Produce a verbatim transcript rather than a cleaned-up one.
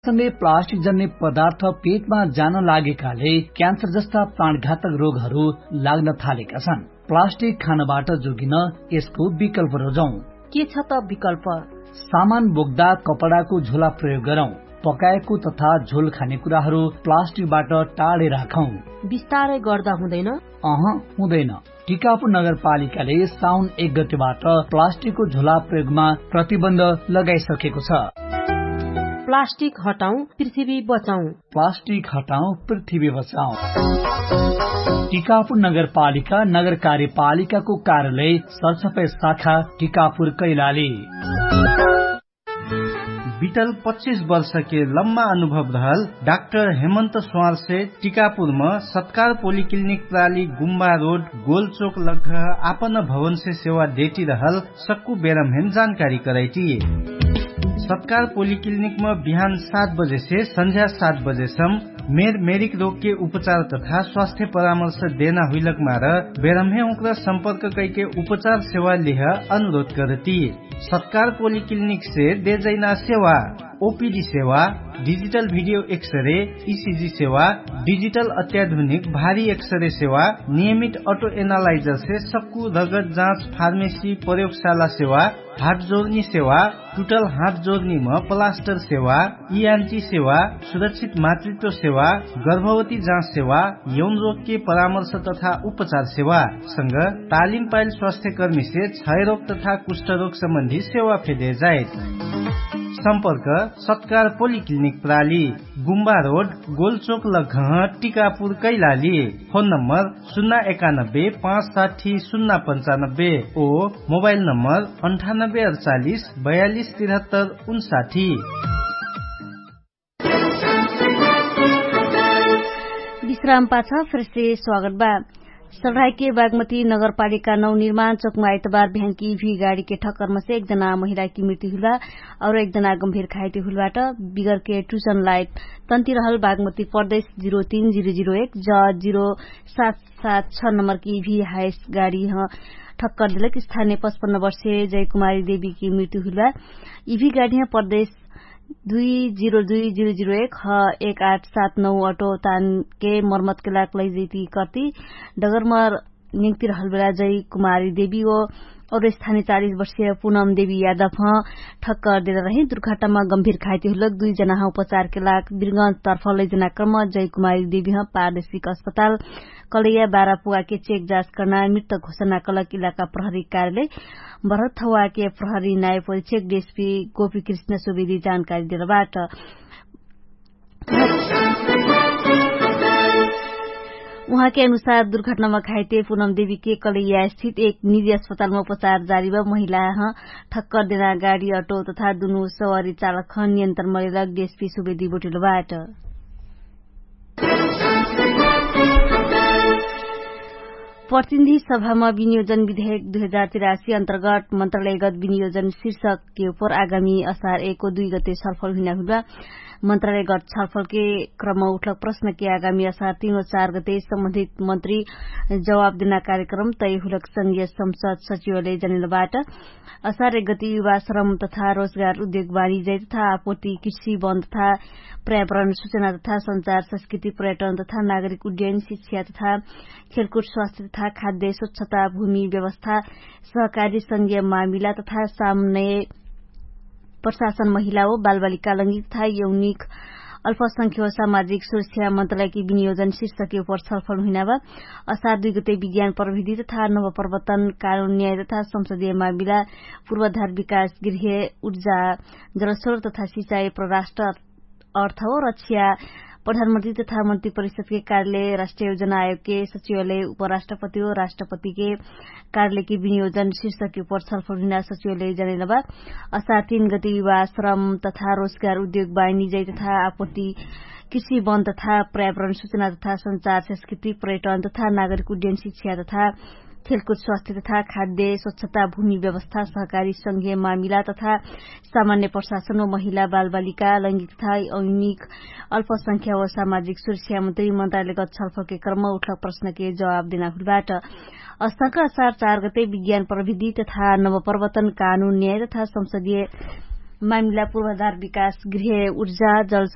सँगै प्लास्टिक जन्ने पदार्थ पेटमा जान लागेकाले क्यान्सर जस्ता प्राणघातक रोगहरू लाग्न थालेका छन्। प्लास्टिक खानबाट जोगिन यसको विकल्प रोजौं। के छ त विकल्प? सामान बोक्दा कपडाको झोला प्रयोग गरौं। पकाएको तथा झोल खाने कुराहरू प्लास्टिकबाट टाढे राखौं। बिस्तारै गर्दा हुँदैन? अह, हुँदैन। टिकापुर नगरपालिकाले साउन एक गतिबाट प्लास्टिकको झोला प्रयोगमा प्रतिबन्ध लगाइसकेको छ। प्लास्टिक हटाउँ, पृथ्वी बचाउँ। प्लास्टिक हटाउँ, पृथ्वी बचाउँ। टिकापुर नगरपालिका नगर कार्यपालिकाको कार्यालय सरसफाइ शाखा टिकापुर कैलाली। बितल पच्चिस वर्षके लम्मा अनुभव रहल डाक्टर हेमन्त स्वारसे टिकापुरम सत्कार पोलिक्लिनिक प्राली गुम्बा रोड गोलचोक लग्घ आपन भवनसे सेवा देटी रहल सक्कु बेरमहेन जानकारी करैटी। सत्कार पोलिक्लिनिकम बिहान सात बजेसे सन्झ्या सात बजेसम मेर मेरिक रोगके उपचार तथा स्वास्थ्य परामर्श देना हुइलक मार बेरमहे उक्र सम्पर्क कैके उपचार सेवा लिह अनुरोध करती। सत्कार पोलिक्लिनिकसे देजैना सेवा ओपिडी सेवा, डिजिटल भिडियो एक्सरे, इसिजी सेवा, डिजिटल अत्याधुनिक भारी एक्सरे सेवा, नियमित अटो एनालाइजरसे सक्कु रगत जाँच फार्मेसी प्रयोगशाला सेवा, हाट जोर्नी सेवा, टुटल हाट जोर्नीम प्लास्टर सेवा, इयान्टी सेवा, सुरक्षित मातृत्व सेवा, गर्भवती जाँच सेवा, यौन रोगके परामर्श तथा उपचार सेवा सँग तालिम पाइल स्वास्थ्यकर्मीसे क्षयरोग तथा कुष्ठरोग सम्बन्धी सेवा फेदे जाइत। सम्पर्क सत्कार पोलिक्लिनिक प्राली, गुम्बा रोड, गोलचोक लघह, टिकापुर कैलाली। फोन नम्बर सुन्ना एकानब्बे पाँच साठी सुन्ना पन्चानब्बे ओ मोबाइल नम्बर अन्ठानब्बे अडचालिस बयालिस तिरहत्तर उन्साठी। विश्राम पाछ फेरसे स्वागत बा। सल्राइके बागमती नगरपालिका नौ निर्माण चोकमा आइतबार बिहानकी इभी गाडीके ठक्करमसे एक जना महिलाकी मृत्यु हुइलबा और एक जना गम्भीर घाइते हुइलबाट। बिगरके टुसन लाइट तन्ति रहल बागमती प्रदेश जिरो तीन जिरो जिरो एक ज जिरो सात सात छ नम्बरकी इभी हाइस गाडीह ठक्कर देलक। स्थानीय पचपन्न वर्षे जयकुमारी देवीकी मृत्यु हुइलबा। इभी गाडीह प्रदेश दुई जिरो दुई जिरो जिरो एक ह एक आठ सात नौ अटो तानके मर्मतके लाग लैजैती कर्ती डगरमर निम्ति रहलबेला जय कुमारी देवी ओ और स्थानी चालिस वर्षिय पुनम देवी यादव ह ठक्कर देला रही। दुर्घटनामा गम्भीर घाइती हुलक दुइ जनाह उपचारके लाग बिर्गन्ज तर्फ लैजना क्रम जय कुमारी देवीह पारदेशिक अस्पताल कलैया बारा पुवाके चेक जाँच कर्ना मृत घोषणा कलक इलाका प्रहरी कार्यालय बरथवाके प्रहरी नाय परिक्षक देशपी गोपी कृष्ण सुवेदी जानकारी देलबाट। उहाँके अनुसार दुर्घटनामा घाइते पुनम देवीके कलैया स्थित एक निजी अस्पतालमा उपचार जारीबा महिलाह ठक्कर देना गाडी अटो तथा दुनु सवारी चालकह नियन्त्रण मरेलक देशपी सुवेदी बोटिलबाट। प्रतिनिधि सभामा विनियोजन विधेयक दुई हजार तिरासी अन्तर्गत मन्त्रालयगत विनियोजन शीर्षकके उपर आगामी असार एको दुई गते सल्फल हुइना हुइबा। मन्त्रालयगत सल्फलके क्रम उठलक प्रश्नके आगामी असार तीन व चार गते सम्बन्धित मन्त्री जवाब देना कार्यक्रम तय हुलक संघीय संसद सचिवले जनेलबाट। असार एक गति युवा श्रम तथा रोजगार उद्योग बारी जय तथा आपोर्ति कृषि वन तथा पर्यावरण सुचना तथा संचार संस्कृति पर्यटन तथा नागरिक उड्डयन शिक्षा तथा खेलकुट स्वास्थ्य तथा खाद्य स्वच्छता भूमि व्यवस्था सहकारी संघीय मामिला तथा सामने प्रशासन महिला ओ बालबालिका लङ्गिक तथा यौनिक अल्पसंख्य सामाजिक सुरक्षा मन्त्रालयकी विनियोजन शीर्षकके उपर छलफल हुइनाबा। असार दुइ गते विज्ञान प्रविधि तथा नवप्रवर्तन कानुन न्याय तथा संसदीय मामिला पूर्वाधार विकास गृह ऊर्जा जलस्रोत तथा सिचाई परराष्ट्र अर्थ हो रक्षा प्रधानमन्त्री तथा मन्त्री परिषदके कार्यालय राष्ट्रिय योजना आयोगके सचिवालय उपराष्ट्रपति हो राष्ट्रपतिके कार्यालयके विनियोजन शीर्षकके उपर छलफल हुइना सचिवालय जनेलबा। असार तीन गति युवा श्रम तथा रोजगार उद्योग बाइनिजै तथा आपत्ति कृषि वन तथा पर्यावरण सुचना तथा संचार संस्कृति पर्यटन तथा नागरिक उड्डयन शिक्षा तथा खेलकुट स्वास्थ्य तथा खाद्य स्वच्छता भूमि व्यवस्था सहकारी संघीय मामिला तथा सामान्य प्रशासन व महिला बालबालिका लैङ्गिक तथा अनिक अल्पसंख्या व सामाजिक सुरक्षा मन्त्री मन्त्रालयगत छलफलके क्रम उठलक प्रश्नके जवाब देना हुलबाट। अस्तक असार चार गते विज्ञान प्रविधि तथा नवप्रवर्तन कानुन न्याय तथा संसदीय मामिला पूर्वाधार विकास गृह ऊर्जा जल